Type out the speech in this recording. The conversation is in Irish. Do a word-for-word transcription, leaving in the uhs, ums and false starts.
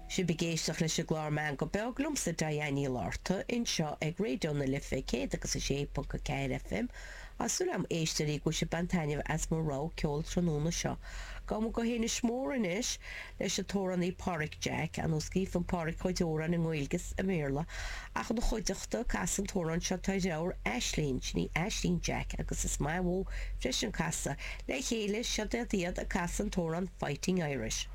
Sibh ag éisteacht leis an gclár Meangadh Beag liomsa Diane Ní Lorta anseo ag Raidió na Life céad agus a sé ponc a ceathair FM Tá súil agam a éisteoirí go bhfuil sibh ag baint taitneamh as mo rogha ceoil tráthnóna seo. Gabhfaidh muid go hInis Mór anois leis an t-amhránaí Páraic Jack an scríobhann Páraic a chuid amhrán i nGaeilge is i mBéarla ach ina chuideachta ag casadh an t-amhrán seo tá a dheirfiúr Aislinn sin í Aislinn Jack agus is maith uathu freisin casadh le chéile seo iad ag casadh an t-amhrán Fighting Irish.